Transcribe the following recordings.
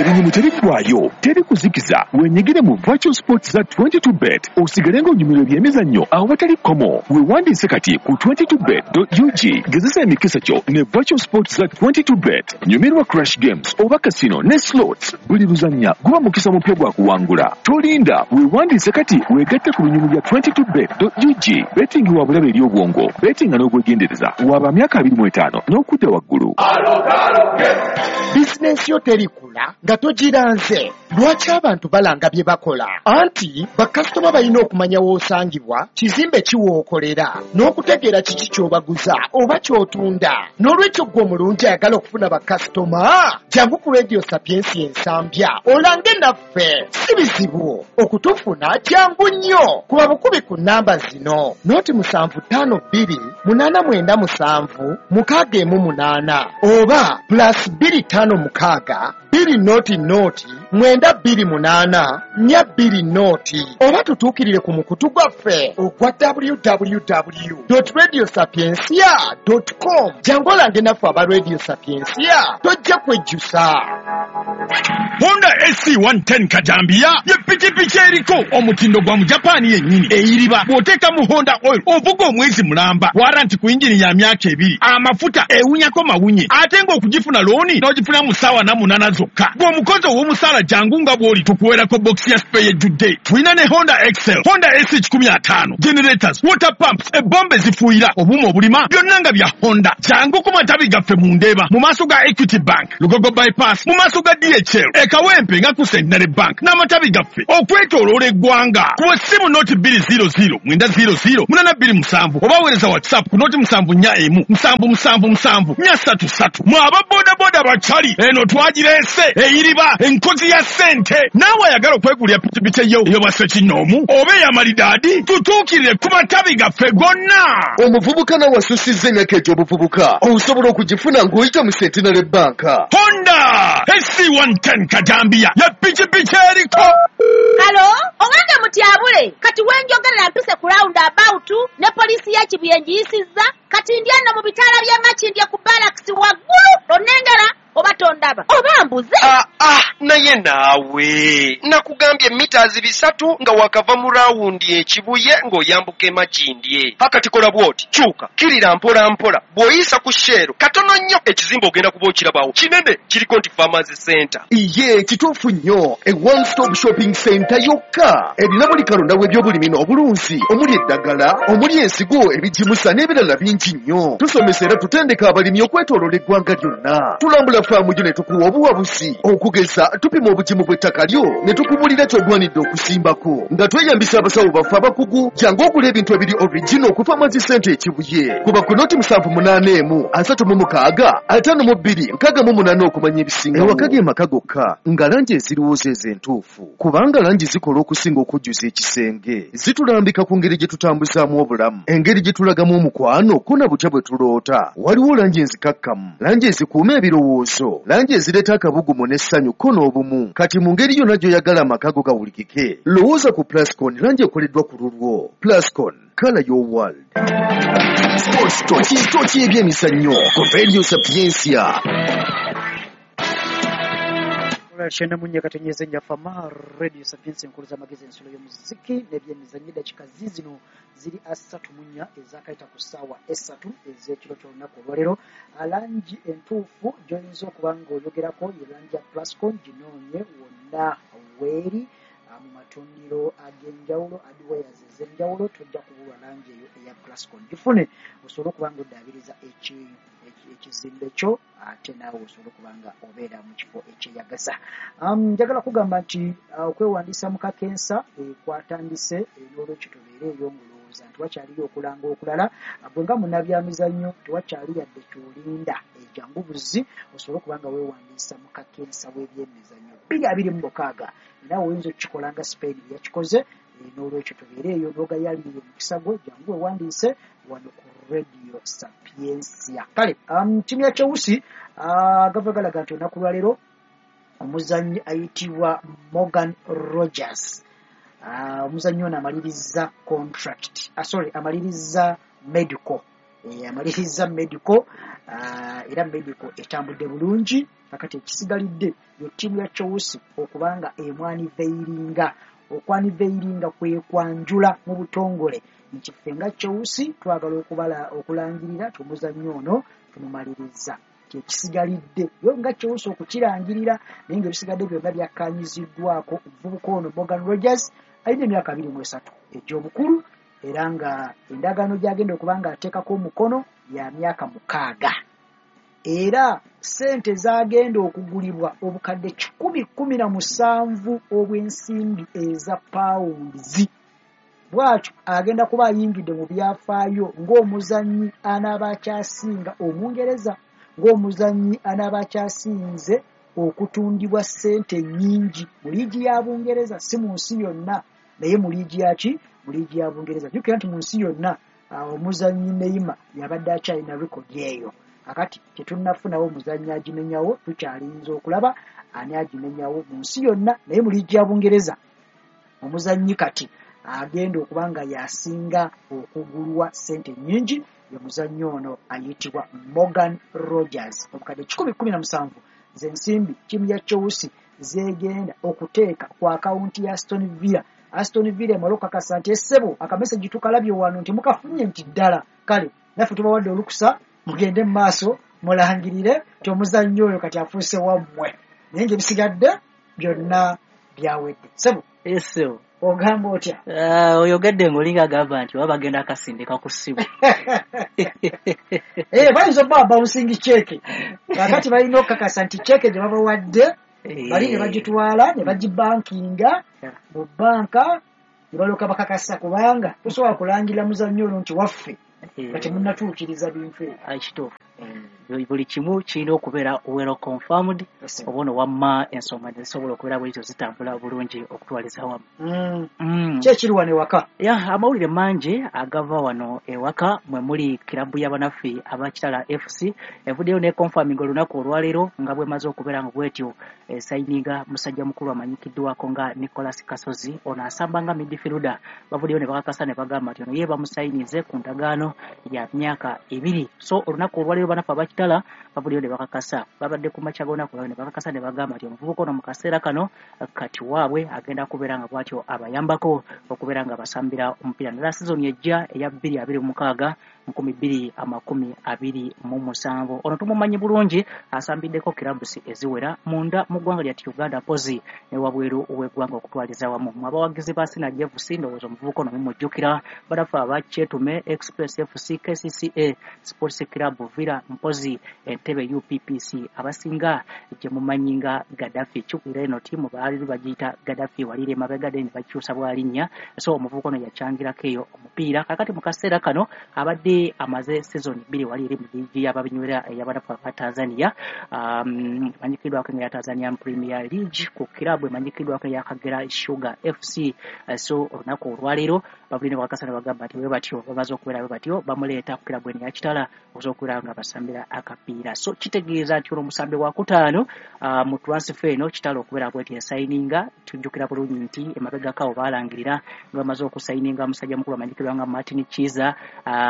Ebinyumu tebiggwaayo, teri kuzikiza. Wenyigire mu virtual sports za 22 Bet, osigale ng'onyumirwa ebyemizannyo awatali kkomo. Weewandiise kati ku 22bet.ug. Gezesa emikisa kyo ne virtual sports za 22 Bet. Nyumirwa crash games oba casino ne slots. Buli luzannya guba mukisa mupya gwa kuwangula. Tolinda, weewandiise kati weegatte ku binyumu bya 22bet.ug. Betting wa bulabe eri obwongo. Bettinga n'obwegendereza. Waba myaka 25 n'okudda waggulu. Bizinensi yo terikula nga togiranze. Lwaki abantu balanga bye bakola? Anti bakasitoma balina okumanya w'osangibwa, kizimbe ki w'okolera, n'okutegeera kiki ky'obaguza oba ky'otunda. N'olwekyo ggwe omulungi ayagala okufuna bakasitoma, jangu ku Radio Sapiensia Ensambya olange naffe. Si bizibu okutufuna, jangu nnyo. Kuba bukubi ku nnamba zino: 075 2 897 618 oba +256 200 928 420, oba tutuukirire ku mukutu gwaffe ogwa www.radiosapiencia.com. Jangu olange naffe aba Radio Sapiencia, tojja kwejjusa. Honda SC 110 Kajambiya ye pikipiki eriko omutindo gwa Mujapani yennyini, eyiriba. Bw'oteeka mu Honda oil ovuga omwezi mulamba, warranty ku yingini ya myaka 2, amafuta ewunyako mawunye, ate ng'okugifuna loan n'ogifuna mu ssaawa 48 zokka. Bw'omukozi ow'omusaala, jangu nga bw'oli, tukuweerako bokisi ya spare ejjudde. Tulina ne Honda Excel, Honda SC 150, generators, water pumps, ebombe ezifuuyira, obuuma obulima, byonna nga bya Honda. Jangu ku matabi gaffe mu Ndeeba mu maaso ga Equity Bank, Lugogo Bypass mu maaso ga DHL, e Kawempe nga ku Centenary Bank, n'amatabi gaffe okwetooloola eggwanga. Kuba essimu 0 200 900 827 oba weereza WhatsApp ku 074 177 744 3. Mwe aba bodaboda bakyali eno twagireese, eyiriba, enkozi ya ssente. Naawe ayagala okwegulira pikipiki eyo ey'obwassekinnoomu oba ey'amalidaadi, tutuukirire ku matabi gaffe gonna. Omuvubuka nawe asussizza emyaka egy'obuvubuka, osobola okugifuna ng'oyita mu Centenary Bank. Honda SC 110 Kajambiya ya pikipiki eriko. Hello, owange mutyabule, kati wenjogerera mpise ku round about ne poliisi ya Kibuye ngiyisizza, kati ndi eno mu bitaala by'e Makindye ku barracks waggulu. Onnengera oba tondaba oba mbuze? Ah, ah, naye naawe nakugambye mita 300 nga wakava mu round e Kibuye ng'oyambuka e Makindye. Akati kola bw'oti, kyuka kirira mpola mpola, bw'oyisa ku Shell katono nnyo, ekizimbe ogenda kuba okirabawo, kinene, kiriko nti Farmers Center. Iye, kituufu nnyo. E one stop shopping center yokka erina buli kalonda w'ebyobulimi n'obulunzi, omuli eddagala, omuli ensigo, ebigimusa n'ebirala bingi nnyo. Tusomesa era tutendeka abalimi okwetooloola eggwanga lyonna. Tulambula faamu yo ne tukuwa obuwabuzi. Okugeza, tupima obugimu bw'ettaka lyo ne tukubulira ky'ogwanidde okusimbako nga tweyambisa abasawo baffe abakugu. Jangu ogula ebintu ebiri original ku Farmers Center e Kibuye. Kuba ku 078 1 36 52 68 okumanya ebisingawo. Ewaka ge maka gokka nga langi eziriwo ezo entuufu, kubanga langi zikola okusinga okujjuza ekisenge. Zitulambika ku ngeri gye tutambuzaamu obulamu, engeri gye tulagamu omukwano, ko na butya bwe tuloota. Waliwo langi enzikakkamu, langi ezikuuma ebirowoozo, langi ezireeta akabugumu n'essanyu ko n'obumu. Kati mu ngeri yonna gy'oyagala amaka go gawulikike, lowooza ku Plascon, langi ekoleddwa ku lulwo. Plascon, color your world. Sports Toki, Toki ebyemizannyo ku Radio Sapiencia. 94.4 Njafama Radio Sapiensia, enkulu z'amagezi, ensulo y'omuziki n'ebyemizannyo. Eddakiika ziizino ziri 34 ezakayita ku ssaawa 3 ez'ekiro ky'olunaku olwaleero. Langi entuufu gy'oyinza okuba ng'oyogerako ye langi ya Plascon. Ginoonye wonna weeri mu matundiro ag'enjawulo, hardwares ez'enjawulo, tojja kubulwa langi eyo eya Plascon. Gifune osobole okuba nga oddaabiriza ekizimbe kyo, ate naawe osobole okuba nga obeera mu kifo ekyeyagaza. Njagala kugamba nti okwewandiisa mu kakensa kwatandise, n'olwekyo tobeere eyo ng'olowooza nti wakyaliyo okulanga okulala. Gwe nga munnabyamizannyo tewakyali yadde ky'olinda, jangu buzzi osobole okuba nga weewandiisa mu kakensa w'ebyemizannyo 2026. Naawe oyinza okukikola nga Spain bwe yakikoze. N'olwekyo tobeere eyo n'ogayalirira omukisa gwo, jangu weewandiise wano ku Radio Sapiencia. Kale ttiimu ya Chelsea gava galaga nti olunaku lwaleero omuzannyi ayitibwa Morgan Rogers, omuzannyi ono amaliriza contract, sorry, amaliriza medical. Amaliriza medical, era medical etambudde bulungi. Kakati ekisigalidde yo ttiimu ya Chelsea okubanga emwaniveiringa. Okwaniveiringa kwe kwanjula mu butongole nti ffe nga Chelsea twagala okubala okulangirira tumuzannyo ono tumumaliriza. Kyekisigalidde yo nga Chelsea okukirangirira, naye ng'ebisigadde byonna byakkaanyiziddwako. Omuvubuka ono Morgan Rogers alina emyaka 23 egy'obukulu, era nga endagaano gy'agenda okuba nga ateekako omukono ya myaka 6, era ssente z'agenda okugulibwa obukadde 117 obw'ensimbi eza pawundizi. Bw'atyo agenda kuba ayingidde mu byafaayo ng'omuzannyi anaaba akyasinga Omungereza, ng'omuzannyi anaaba akyasinze okutundibwa ssente nnyingi mu liigi ya Bungereza, si mu nsi yonna, naye mu liigi yaki, mu liigi ya Bungereza. Jjukira nti mu nsi yonna omuzannyi Neymar yabadde akyalina rekodi eyo. Kakati tetunnafunawo omuzannyi agimenyawo, tukyalinze okulaba ani agimenyawo mu nsi yonna, naye mu liigi ya Bungereza omuzannyi kati agenda okuba nga yasinga okugulwa ssente nnyingi ye muzannyi ono ayitibwa Morgan Rogers. Obukadde 117 z'ensimbi ttiimu ya Chelsea zegenda okuteeka ku akawunti ya Aston Villa. Aston Villa emala okukakasa nti essebo akameseji tukalabye wano nti mukafunye nti ddala, kale naffe tubawadde olukusa mugende mu maaso mulangirire nti omuzannyi oyo kati afuuse wammwe, naye ng'ebisigadde byonna byawedde. Ssebo Ssebo, ogamba otya? Oyogedde ng'olinga agamba nti oba bagenda akasindika ku ssimu. Bayinza okuba bouncing cheque. Kakati balina okukakasa nti cheque gye babawadde bali ne bagitwala ne bagibankinga mu bbanka ne balyoka bakakasa, kubanga tosobola kulangirira muzannyo ono nti waffe nga temunnatuukiriza bintu ebyo. Kituufu, buli kimu kirina okubeera well confirmed, oba ono wamma ensonga ne zisobola okubeera bwezityo zitambula bulungi okutwaliza wamu. Ki ekiri wano ewaka? Ya, amawulire mangi agava wano ewaka. Mwe muli kirabu y'abanaffe aba Kitala FC evuddeyo ne confirming olunaku olwaleero nga bwemaze okubeera nga bwetyo esayininga musajja mukulu amanyikiddwako nga Nicholas Kasozi. Ono asamba nga midfielder. Bavuddeyo ne bakakasa ne bagamba nti ono ye bamusayinize ku ndagaano ya myaka 2. So olunaku olwaleero banaffe aba Kitala bavuddeyo ne bakakasa, babadde ku makya g'olunaku olwaleero ne bakakasa ne bagamba nti omuvubuka ono mu kaseera kano kati waabwe agenda kubeera nga bw'atyo abayambako okubeera nga basambira omupiira naddala sizoni ejja eya 2026 2027. Ono tumumanyi bulungi, asambiddeko clubs eziwera munda mu ggwanga lya Uganda mpozi ne wabweru w'eggwanga okutwaliza wamu. Mu abawagizi ba Synergy FC ndowooza omuvubuka ono mumujjukira, banafe aba Kyetume Express FC, KCCA Sports Club, Villa mpozi Entebbe UPPC, abasinga gye mumanyi nga Gaddafi. Kyukira eno ttiimu baali bagiyita Gaddafi walire emabega ne bakyusa bwalinnya. So omuvubuka ono yakyangirako eyo omupiira. Kakati mu kaseera kano abadde amaze season 2 wali eri mu liigi y'ababinywera ey'abanafu aba Tanzania, emanyikiddwako nga ya Tanzanian Premier League, ku kiraabu emanyikiddwako eya Kagera Sugar FC. So olunaku olwaleero bavudde ne bakakasa ne bagamba nti bwe batyo bamaze okubeera bwe batyo bamuleeta ku kiraabu eno eya Kitala okusobola okubeera nga basambira akapiira. So kitegeeza nti ono omusambi wa kutaano mu transfer eno Kitala okubeera bweti esayininga. Tujjukira bulungi nti emabegako awo baalangirira nga bamaze okusayininga musajja mukulu amanyikiddwa nga Martin Kiiza,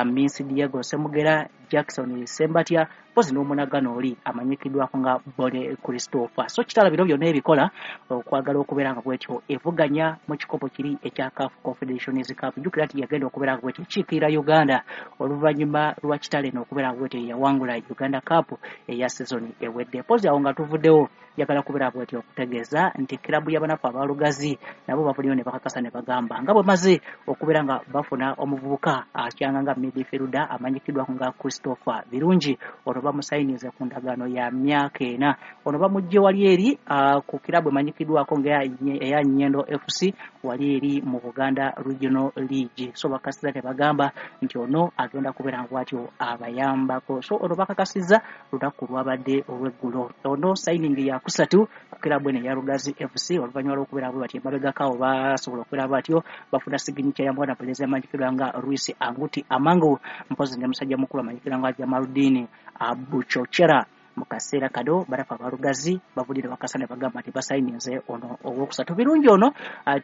Minsi Diego Semugera, Jackson Sembatya mpozi n'omunagano oli amanyikiddwako nga Bone Christopher. So Kitala bino byonna ebikola okwagala okubeera nga bwetyo evuganya mu kikopo kiri ekya CAF Confederations Cup. Jjukira nti yagenda okubeera nga bwetyo ekiikirira Uganda oluvannyuma lwa Kitala eno okubeera nga bwetyo yawangula Uganda Cup eya sizoni ewedde. Mpozi awo nga tuvuddewo, njagala kubeera bwetyo okutegeeza nti kirabu y'abanafu abalugazi nabo bavuddeyo ne bakakasa ne bagamba nga bwe maze okubeera nga bafuna omuvubuka akyanga nga midfielder amanyikiddwako nga Christopher Birungi. Ono bamusayinize ku ndagaano ya myaka 4. Ono bamuggye wali eri ku kirabu emanyikiddwako nga eya Nyendo FC wali eri mu Buganda Regional League. So bakakasizza ne bagamba nti ono agenda kubeera nga bw'atyo abayambako. So ono bakakasizza lunaku lwabadde olw'eggulo. Ono signing ya kusatu ku kirabu eno eya Lugazi FC oluvannyuma lw'okubeera bwe batyo emabegako awo basobola okubeera batyo bafuna signature ya mwana mulenzi amanyikiddwa nga Luis Anguti Amangu mpozi ne musajja mukulu amanyikiddwa nga Jamaludin Abuchochera. Mu kaseera kano barafa abalugazi bavudde bakasa ne bagamba nti basayininze ono owokusatu. Birungi ono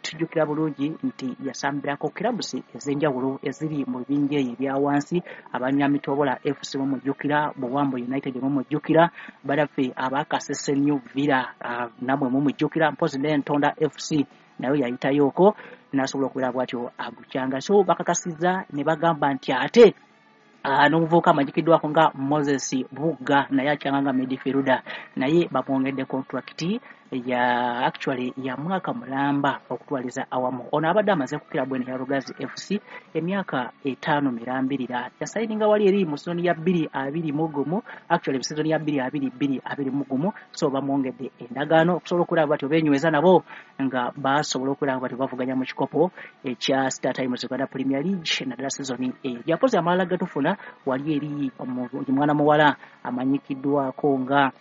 tujjukira bulungi nti yasambirako kirabusi ez'enjawulo eziri mu bibinja eyo ebya wansi, Abanyamitobola FC mumujjukira, Buwambo United mumujjukira, baraffe abakasese New Villa namwe mumujjukira, mpozi n'Entonda FC nayo yayitayoko n'asobola okubeera bw'atyo agukyanga. So bakakasizza ne bagamba nti ate n'omuvubuka amanyikiddwako nga Moses Bugga naye akyanga nga midfielder, naye bamwongedde contract ya actually ya mwaka mulamba okutwaliza awamu. Ono abadde amaze ku kirabu eno ya Lugazi FC emyaka 5 mirambirira, yasayininga wali eri mu sizoni ya 2021, actually mu sizoni ya 2022-2021. So bamwongedde endagaano okusobola okulaba batyo beenyweza nabo nga basobola okulaba batyo bavuganya mu kikopo ekya Star Times Uganda Premier League naddala sizoni eyo. Japozi amalala gatufuna wali eri omwana muwala amanyikiddwako nga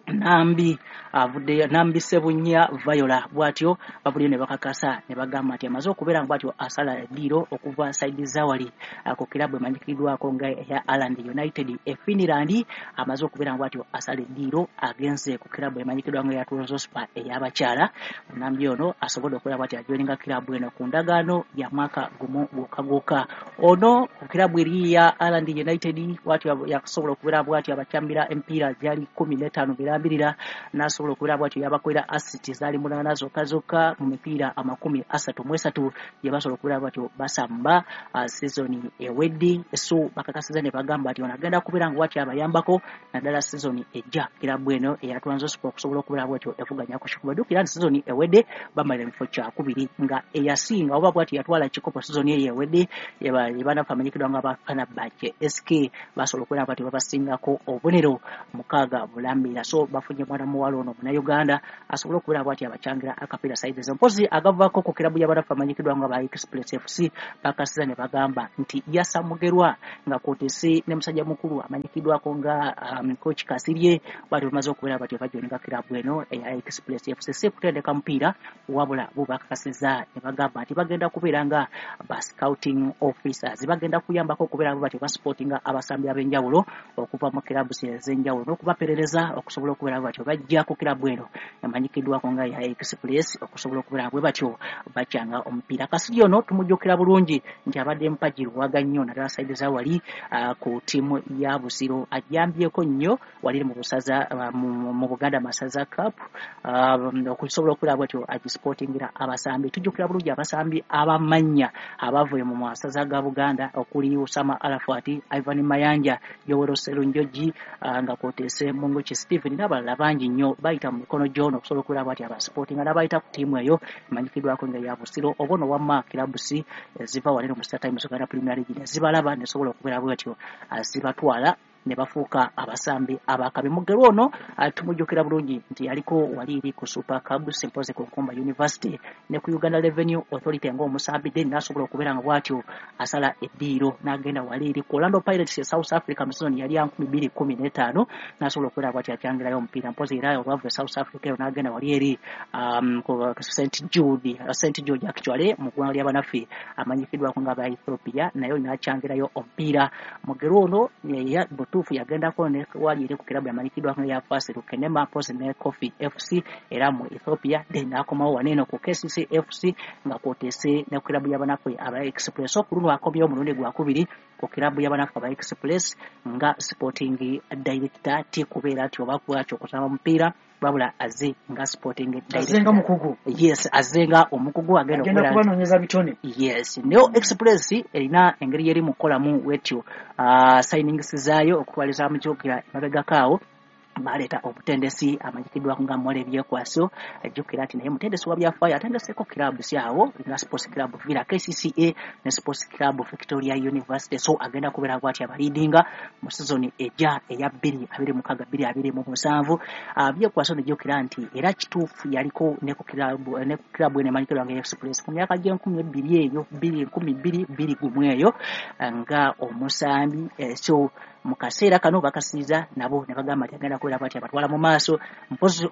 Nambi avudde Nambi Sebunya Viola, bw'atyo bavuddeyo ne bakakasa ne bagamba nti amaze okubeera bw'atyo asala eddiiro okuva saidi zawali ku kirabu emanyikiddwako nga eya Aland United e Finland. Amaze okubeera bw'atyo asala eddiiro agenze ku kirabu emanyikiddwa nga eya Trabzonspor ey'abakyala. Nambi ono asobodde okubeera bw'atyo ajoininga kirabu eno ku ndagaano ya mwaka gumu gwokka gwokka. Ono ku kirabu eri ya Aland United bw'atyo yasobola okubeera bw'atyo abakyambira emipiira gyali 15 birambirira, n'asobola okubeera bw'atyo yabakolera assist zaali 8 zokka zokka mu mipiira 33 gye basobola okubeera bw'atyo basamba sizoni ewedde. So bakakasiza ne bagamba nti ono agenda kubeera nga bw'atyo abayambako naddala sizoni ejja kirabu eno eya Trabzonspor okusobola okubeera bw'atyo evuganya ku kikuba. Jjukira nti sizoni ewedde bamalira mu kifo kyakubiri nga eyasinga oba bw'atyo yatwala ekikopo sizoni eyo ewedde ebanafu amanyikiddwa nga ba Fenerbahce SK basobola okubeera bw'atyo babasingako obubonero 6 bulambira. So bafunye mwana muwala ono Munnayuganda asobola okubeera bw'atyo abachangira akapiira saizi ezo. Mpozi agavaako ku kirabu y'abanafu amanyikiddwa nga ba Express FC bakasiza ne bagamba nti Yasa Mugerwa nga kwotese ne musajja mukulu amanyikiddwako nga coach Kasirye bw'atyo bamaze okubeera batyo bajoininga kirabu eno eya Express FC si kutendeka mupiira, wabula bo bakakasiza ne bagamba nti bagenda kubeera nga ba scouting officers, bagenda kuyambako okubeera batyo basupportinga abasambi ab'enjawulo okuva mu kirabu ez'enjawulo n'okubaperereza okusobola okubeera batyo bajja ku kirabu eno emanyikiddwako nga ya Express okusobola okubeera bwe batyo bakyanga omupiira. Kasirye ono tumujjukira bulungi nti abadde mpagi luwaga nnyo naddala saidi za wali ku ttiimu ya Busiro, ajambyeko nnyo wali mu busaza mu Buganda Masaza Cup okusobola okubeera bwatyo agisupportingira abasambi. Tujjukira bulungi abasambi abamannya abavuye mu masaza ga Buganda okuli Usama Arafat, Ivan Mayanja, Yowero Serunjogi nga kwotese Munguki Stephen n'abalala bangi nnyo bayita mu mikono gy'ono okusobola okubeera bw'atyo abasupportinga n'abayita ku ttiimu eyo emanyikiddwako nga ya Busiro oba ono wamma kirabusi ziva wano mu Star Times Uganda Premier League ne zibalaba ne sobola okubeera bw'atyo zibatwala ne bafuuka abasambi abakabi. Mugerwa ono tumujjukira bulungi nti yaliko wali eri ku Super Cubs mpozi ku Nkumba University ne ku Uganda Revenue Authority ng'omusambi, then n'asobola okubeera nga bw'atyo asala eddiiro n'agenda wali eri ku Orlando Pirates e South Africa mu sizoni yali ya 2015 n'asobola okubeera bw'atyo akyangirayo omupiira. Mpozi era olwava e South Africa eyo n'agenda wali eri ku St George actually mu ggwanga ly'abanaffe amanyikiddwako nga aba Ethiopia, naye n'akyangirayo omupiira. Mugerwa ono butuufu yagendako ne wali eri ku kirabu yamanyikiddwako nga ya Fasil Kenema mpozi ne Coffee FC era mu Ethiopia, then n'akomawo wano eno ku KCC FC nga kwotese ne ku kirabu y'abanaffe aba Express. Ku luno akomyewo omulundi gwakubiri ku kirabu y'abanaffe aba Express nga sporting director, ti kubeera nti oba bwatyo okusamba mupiira, wabula azze nga sporting Azze nga director. mukugu. Yes, azze nga omukugu agenda Agenda okubeera kubanoonyeza bitone. Yes, Neo Express erina engeri yeri mu kukolamu wetyo signings zaayo okutwaliza mujjukira emabegako awo baleeta omutendesi amanyikiddwako nga Mole Byekwaso. Ajjukira nti naye mutendesi wa byafaayo atendeseeko clubs awo nga Sports Club Villa, KCCA ne Sports Club Victoria University. So agenda kubeera bw'atyo abaliidinga mu sizoni ejja eya 2026-2027. Byekwaso nejjukira nti era kituufu yaliko ne ku kirabu eno emanyikiddwa nga Express ku myaka gy'enkumi ebbiri eyo 2021 eyo nga omusambi. So mu kaseera kano bakasiiza nabo ne bagamba nti agenda kubeera bw'atyo abatwala mu maaso. Mpozi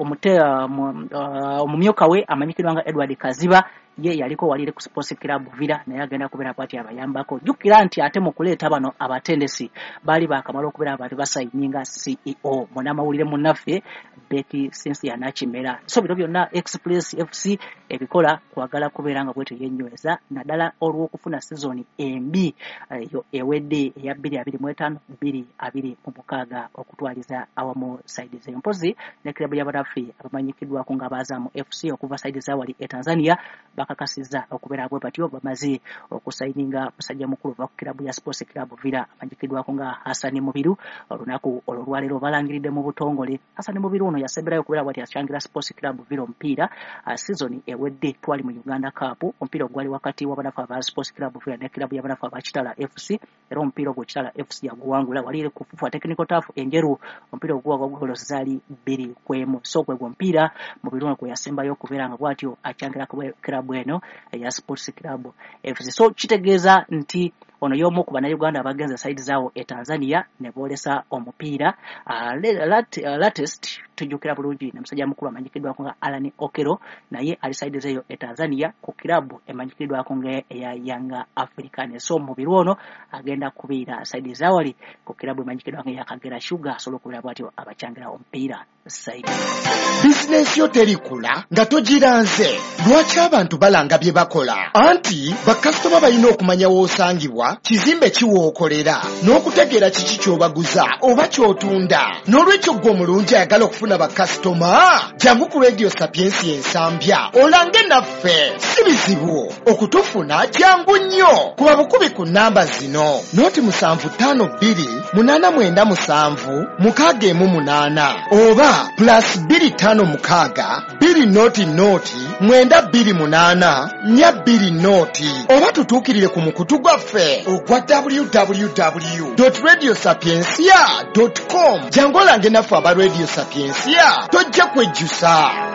omumyuka we amanyikiddwa nga Edward Kaziba Ye yaliko walire ku Sports Club Villa, naye agenda kubeera bw'ati abayambako. Jjukira nti ate mu kuleeta bano abatendesi baali baakamala okubeera abantu basayininga CEO munnamawulire munnaffe Betty Cynthia Nakimera. So bino byonna Express FC ebikola kwagala kubeera nga bwetyo yenyweza, naddala olw'okufuna sizoni embi eyo ewedde eya 2025 2026 okutwaliza awamu saidi z'empozi ne kirabo y'abanaffe abamanyikiddwako nga Abazamu FC okuva saidi zawali e Tanzania bakakasizza okubeera bwe batyo bamaze okusayininga musajja mukulu ova ku kirabu ya Sports Club Villa amanyikiddwako nga Hassan Mubiru. Olunaku olwo olwaleero balangiridde mu butongole Hassan Mubiru ono yasemberayo okubeera bwati akyangira Sports Club Villa omupiira sizoni ewedde twali mu Uganda Cup, omupiira ogwali wakati w'abanafu aba Sports Club Villa ne kirabu y'abanafu aba Kitala FC, era omupiira ogwo Kitala FC yaguwangula wali ku FUFA Technical Turf enjeru, omupiira oguwagwa goolo zaali 2-1. So gwe omupiira Mubiru ono gwe yasembayo okubeera nga bw'atyo akyangira kirabu eno eya Sports Club FC. So kitegeeza nti ono y'omu ku bannayuganda abagenze saidi zaawo e Tanzania ne boolesa omupiira. Latest tujjukira bulungi ne musajja mukulu amanyikiddwako nga Alan Okello, naye ali saidi zeeyo e Tanzania ku kirabu emanyikiddwako nga eya Yanga African. So Mubiru ono agenda kubeera saidi zaawali ku kirabu emanyikiddwako nga eya Kagera Sugar, asobola okubeera bw'atyo abacyangira omupiira saidi. Bizinensi yo terikula nga togiranze. Lwaki abantu balanga bye bakola? Anti bakasitoma balina okumanya w'osangibwa, kizimbe ki w'okolera, n'okutegeera kiki ky'obaguza oba ky'otunda. N'olwekyo ggwe omulungi ayagala okufuna bakasitoma, jangu ku Radio Sapiensia Ensambya olange naffe. Si bizibu okutufuna, jangu nnyo kuba bukubi ku nnamba zino: 0752 897 618 oba +256 200 928 420, oba tutuukirire ku mukutu gwaffe ogwa www.radiosapiensia.com. Jangu olange naffe aba Radio Sapiensia, tojja kwejjusa.